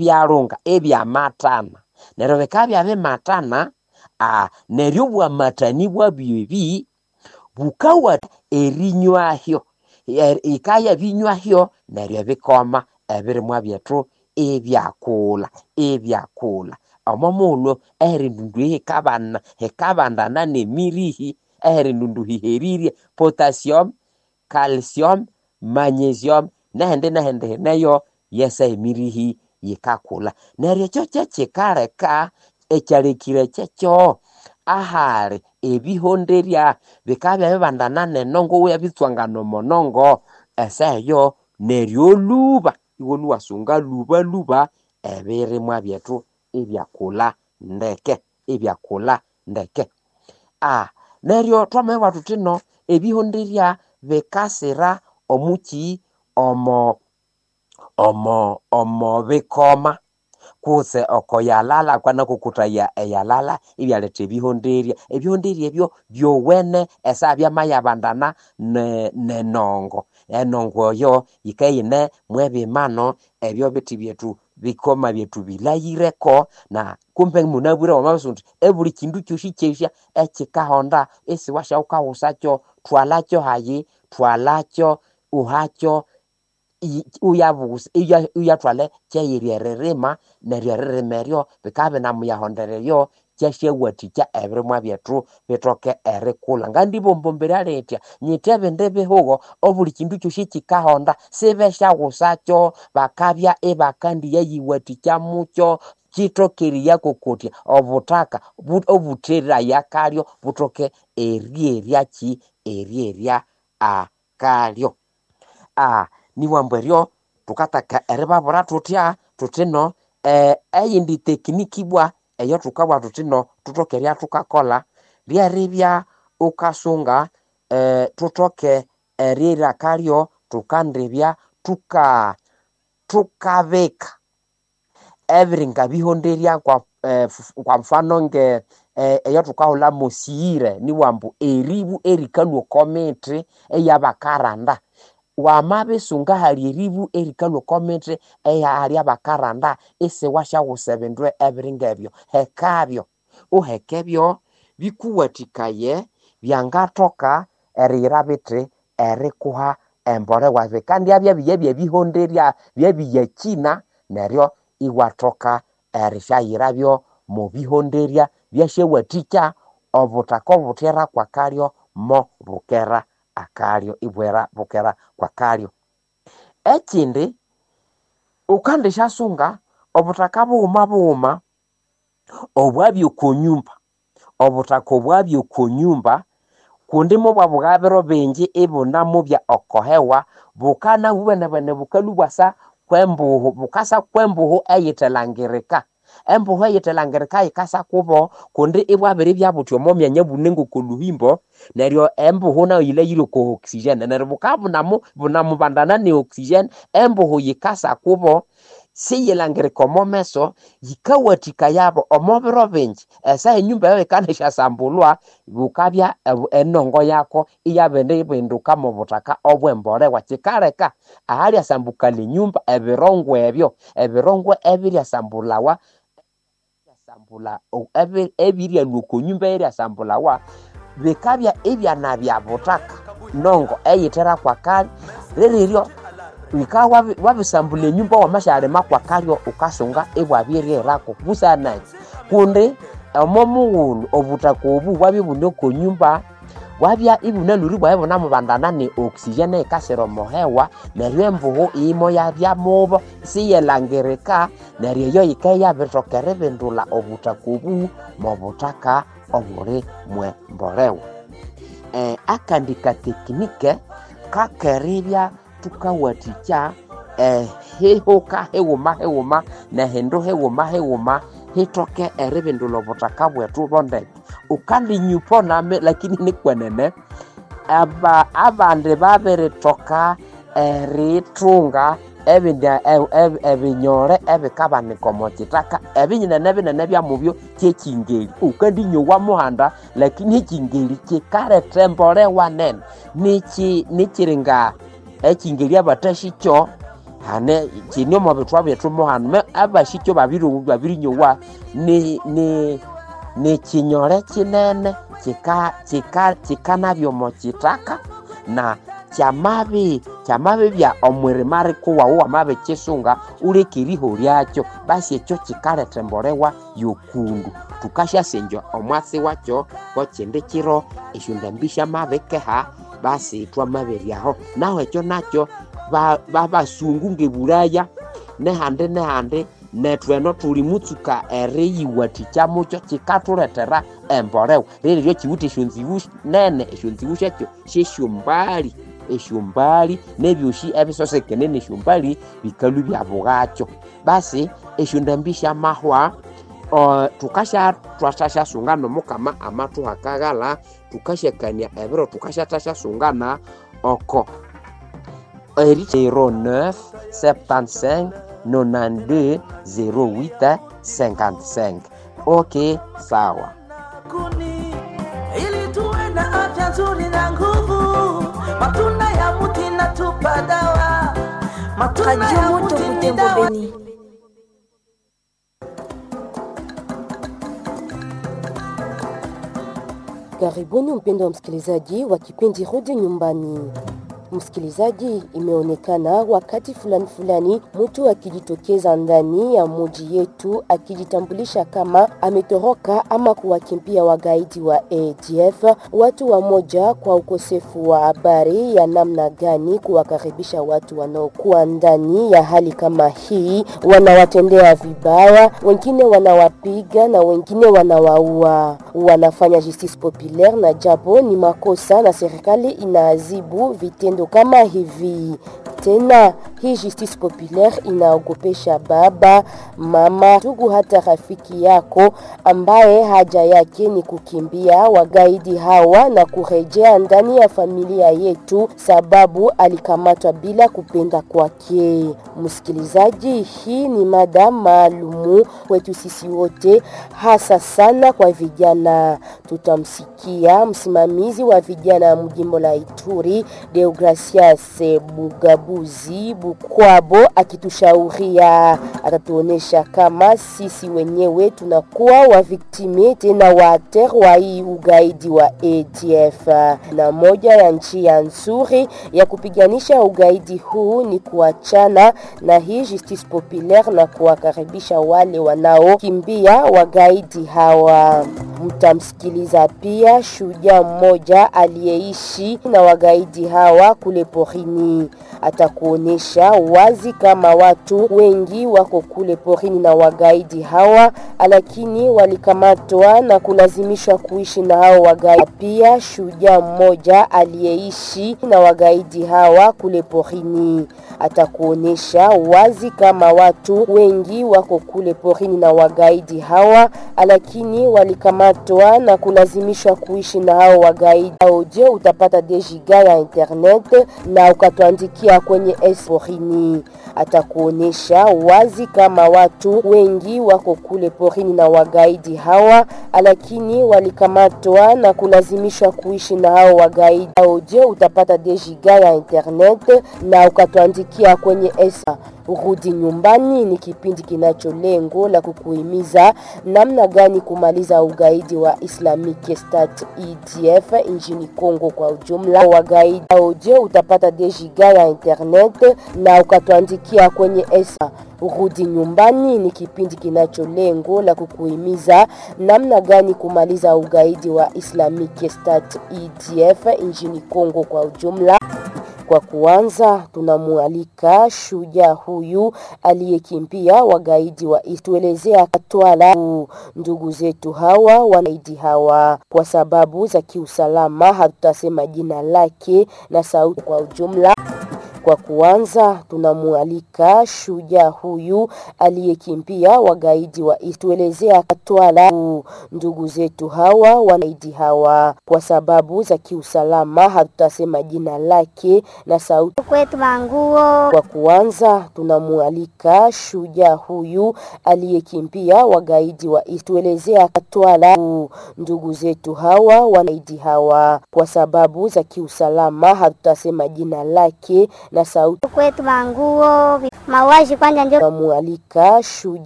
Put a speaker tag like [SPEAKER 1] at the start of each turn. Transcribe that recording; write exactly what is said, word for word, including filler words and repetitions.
[SPEAKER 1] Byalunga ebyamatana neryo bikabya bimatana aa neryo obwamatani bwabyo ebi bukawa erinywahyo yikaya binywahyo neryo ebikoma ebirimwa byethu ibyakulha ibyakulha omo mughulhu eheri ndundu eyi hikabana hikabandana nemirihi eheri ndundu hiherire potassium, calcium, magnesium nehindi nehindi hineyo yesa emirihi yikakulha neryo ekyo kyekikaleka ekyalekire kyekyo ahali ebihonderya bikabya bibandana nenongo iwabitswangana omo nongo esaha eyo neryo olhuba iwalhwa iwasunga lhuba lhuba ebirimwa byethu ibyakulha ndeke ibyakulha ndeke aa neryo twamabugha thuthi no ebihonderya bikasira omukyi omo omo omo bikoma kutse oko yalala kwanakokotaya eyalala ibyaletha ebihonderya ebihonderya ebyo byowene esaha byamayabandana ne nenongo enongo eyo yikayine mwebimano ebyo bithi byethu bikoma byethu bilahireko na kumbe munabwire wamabya uthi ebuli kindu kyosi kyesya ekyikahonda isiwasyaghukawusakyo thwalakyo hayi thwalakyo uhakyo uyabusa uyathwala kyeyiri eririma neryo eririma eryo bikabya binamuyahondera eryo kyasyawathikya ebirimwa byethu bithoke erikulha. Ngandibombombera lithya nyithe ebindi bihugo obuli kindu kyosi kyikahonda sibesyawusakyo bakabya ibakandiyayiwathikya mukyo kyithoke eriyakokotya obuthaka obutheraya kalyo buthoke eryerya kyi eryerya akalyo. Aa niwambu eryo thukataka eribabwira thuthya thuthi no eyindi tekiniki ibwa eyathukabugha thuthi no thuthoke eribya thukakolha lyeribya wukasunga thuthoke eryerya akalyo thukandibya thuka thukabika ebiringa bihonderya kwa kwa mfano nge eyathukahulha mosiyire niwambu eribu erikalhwa oko mithi eyabakaranda wamabisunga ahali eribu erikalhwa oko mithi eyahali abakaranda isiwasyawusa ebindu ebiringa ebyo hekabyo wuhekebyo bikuwathikaye byangathoka eriyira bithi erikuha embolewa bikandyabya byebihonderya byebiyakyina neryo iwathoka erisyayirabyo mubihonderya byasyawathikya obuthaka obuthera kwakalyo mo bukera akalyo ibwera bukera kwakalyo. Ekyindi wukandisyasunga obuthaka bughuma bughuma obwabya oko nyumba obuthaka obwabya oko nyumba kundi mubwabugha biro bingi ibunamubya oko hewa bukana bwenebwene bukalhwa ibwasa kwembuhu bukasa kwembuhu eyithelangirika embuhu eyithelangirika yikasa kubo kundi ibwabiribya buthi omo myanya bune ngoko lhuhimbo neryo embuhu nayo yilhayire oko oxygen neryo bukabya bunamu bunamubandana ne oxygen embuhu yikasa kubo siyilangirika omo meso yikawathikayabo omo biro bingi esaha enyumba eyo yikandisyasambolwa bukabya enongo yako iyabiribinduka mobuthaka obwembolewa kyikaleka ahalyasambukalha enyumba ebirongwe ebyo ebirongwe ebiryasambulhawa ebiryalhwa oko nyumba eyiryasambulhawa bikabya ibyanabya buthaka nongo eyithera kwakalyo liriryo wukabya wabisambulha enyumba wamasyalima kwakalyo wukasunga ibwabiryerako busanaki kundi omo mughulhu obuthaka obu bwabya ibune oko nyumba bwabya ibunalhwire ibwabya ibunamubandana ne oxygen eyikasira omo hewa neryo embuhu imoyabya mubo isiyelangirika neryo eyo yikabya iyabirithoka eribindulha obuthaka obu mobuthaka obuli mwembolewa. Akandi katekinike kakeribya thukawathikya ehihuka highuma highuma nehindu highuma highuma hithoke eribindulha obuthaka bwethu bondeke. Wukandinyupa nami lakini nikwenene aba abandi babirithoka erithunga ebindi ebinyole ebikabanika omo kithaka ebinyinene binene byamubyo kyekyingeli wukandinyowa muhanda lakini ekyingeli kyikaletha embolewa nene nikyi nikyiringa ekyingeli abathasyikyo Hane kine omo bithwa byethu mo hanu abashikyo babiri babirinyowa ni ni nikinyole kinene kika kika kikanabya omo kitaka na kyamabi kyamabibya omwirima rikuwawu wamabikisunga uleke eriho lyakyo basi ekyo kikaletha embolewa yokundu. Thukasyasengya omwatsi wakyo kwekindi kiro esyondambi syamabikeha basi thwamaberyaho. Nahu ekyo nakyo babasungu ngebulaya nehandi nehandi nethu eno thuli mutsuka eriyiwathikya mukyo kikathulethera embolewa. Rereryo kiwithe esyonzibu nene, esyonzibu syakyo syesyombali, esyombali nebyosi ebisosekene nesyombali bikalhwa ibyabughakyo. Basi esyondambi syamahwa thukasya thwathasyasungana Omukama amathuha akaghalha, thukasyakania ebiro thukasyathasyasunga oko zero neuf septante-cinq nonante-deux zero huit cinquante-cinq. Okay, sawa.
[SPEAKER 2] Kuni, ili tuwe na afya nzuri na nguvu. Matunda ya muti inatupa dawa. Matunda
[SPEAKER 3] Radio
[SPEAKER 2] ya
[SPEAKER 3] Moto
[SPEAKER 2] muti ni
[SPEAKER 3] Butembo
[SPEAKER 2] dawa.
[SPEAKER 3] Beni.
[SPEAKER 4] Karibuni mpendo wa msikilizaji wa kipindi Rudi Nyumbani. Msikilizaji, imeonekana wakati fulani fulani mtu akijitokeza ndani ya muji yetu akijitambulisha kama ametoroka ama kuwakimbia wagaidi wa A D F. Watu wamoja kwa ukosefu wa habari ya namna gani kuwakaribisha watu wanaokuwa ndani ya hali kama hii, wanawatendea vibaya, wengine wanawapiga na wengine wanawaua. Wanafanya justice populaire na japo ni makosa na serikali inaadhibu vitendo kama hivi. Tena hii justice populaire inaogopesha baba, mama, ndugu, hata rafiki yako ambaye haja yake ni kukimbia wagaidi hawa na kurejea ndani ya familia yetu, sababu alikamatwa bila kupenda kwake. Msikilizaji, hii ni mada maalumu kwetu sisi wote, hasa sana kwa vijana. Tutamsikia msimamizi wa vijana mjimbo la Ituri, Deogracias Bugabuzi Bukwabo, akitushauria. Atatuonesha kama sisi wenyewe tunakuwa wa viktime tena wa acteur wa hii ugaidi wa A D F. Na moja ya njia nzuri ya kupiganisha ugaidi huu ni kuachana na hii justice populaire na kuwakaribisha wale wanaokimbia wagaidi hawa. Mtamsikiliza pia shujaa mmoja aliyeishi na wagaidi hawa kule porini. Atakuonesha wazi kama watu wengi wako kule porini na wagaidi hawa, lakini walikamatwa na kulazimishwa kuishi na hao wagaidi. Pia shujaa mmoja aliyeishi na wagaidi hawa kule porini. Atakuonesha wazi kama watu wengi wako kule porini na wagaidi hawa, lakini walikamatwa na kulazimishwa kuishi na hao wagaidi. Audio utapata des giga ya internet na ukatuandikia kwenye S porini. Atakuonesha wazi kama watu wengi wako kule porini na wagaidi hawa, lakini walikamatwa na kulazimishwa kuishi na hao wagaidi. Audio utapata des giga ya internet na ukatuandikia kwenye S. Rudi Nyumbani ni kipindi kinacho lengo la kukuhimiza namna gani kumaliza ugaidi wa Islamic State E D F nchini Kongo kwa ujumla. Wagaidi audio utapata des giga ya internet na ukatuandikia kwenye S. Rudi Nyumbani ni kipindi kinacho lengo la kukuhimiza namna gani kumaliza ugaidi wa Islamic State E D F nchini Kongo kwa ujumla. Kwa kuanza, tunamualika shujaa huyu aliyekimbia wagaidi wa tuelezea Katwala ndugu zetu hawa wanaidi hawa. Kwa sababu za kiusalama hatutasema jina lake na sauti kwa ujumla. Kwa kuanza, tunamualika shujaa huyu aliyekimbia wagaidi wa tuelezea Katwala ndugu zetu hawa wanaidi hawa. Kwa sababu za kiusalama hatutasema jina lake na sauti
[SPEAKER 5] kwetu manguo.
[SPEAKER 4] Kwa kuanza, tunamualika shujaa huyu aliyekimbia wagaidi wa tuelezea Katwala ndugu zetu hawa wanaidi hawa. Kwa sababu za kiusalama hatutasema jina lake na Na sauti
[SPEAKER 3] kwetu manguo mauaji kwanja njo
[SPEAKER 4] namualika shujaa